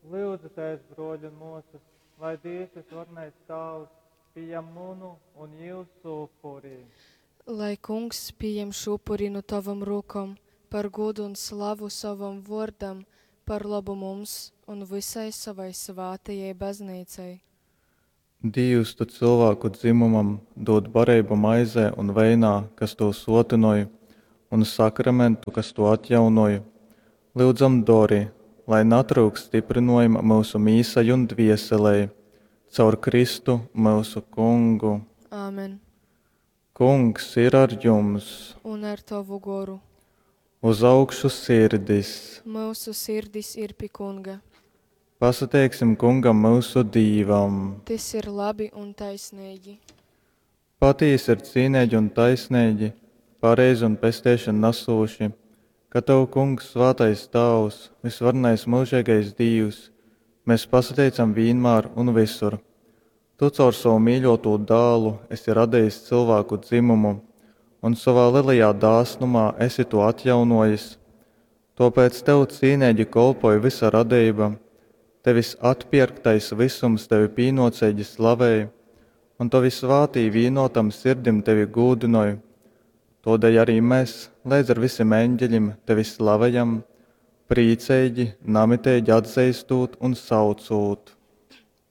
Lyudzitēs, brōļi un mōsas, lai Dīvs vysvarenais Tāvs pījam munu un jūsu upuri. Lai Kungs pījem šū upuri nu tovom rūkom par gūdu un slavu sovam vōrdam, par lobu mums un vysai sovai svātajai Bazneicai. Dīvs, tu cylvāku dzymumam dūd bareibu maizē un veinā, kas tū sōtynoj, un sakramentu, kas tū atjaunoj. Lyudzam, dori, lai natryukst styprynōjuma myusu mīsai un dvieselei. Caur Kristu, myusu Kungu. Āmen. Kungs ir ar jums! Un ar tovu goru. Uz augšu sirdis! Myusu sirdis ir pi Kunga. Pasateiksim Kungam myusu Dīvam! Tys ir labi un taisneigi. Patīsi ir cīneigi un taisneigi, pareizi un pesteišonu nasūši, ka tev, Kungs, svātais Tāvs, vysvarenais myužeigais Dīvs, mes pasateicam vīnmār un vysur. Tu caur sovu mīļōtū Dālu esi radejis cylvāku dzymumu un sovā lelajā dāsnumā esi tū atjaunōjis. Tōpēc tev cīneigi kolpoj vysa radeiba, tevis atpierktais vysums tevi pīnōceigi slavej, un tovi svātī vīnōtam sirdim tevi gūdynoj. Tōdēļ arī mes leidz ar visim eņgelim tevi slavejam, prīceigi, namiteigi atzeistūt un saucūt.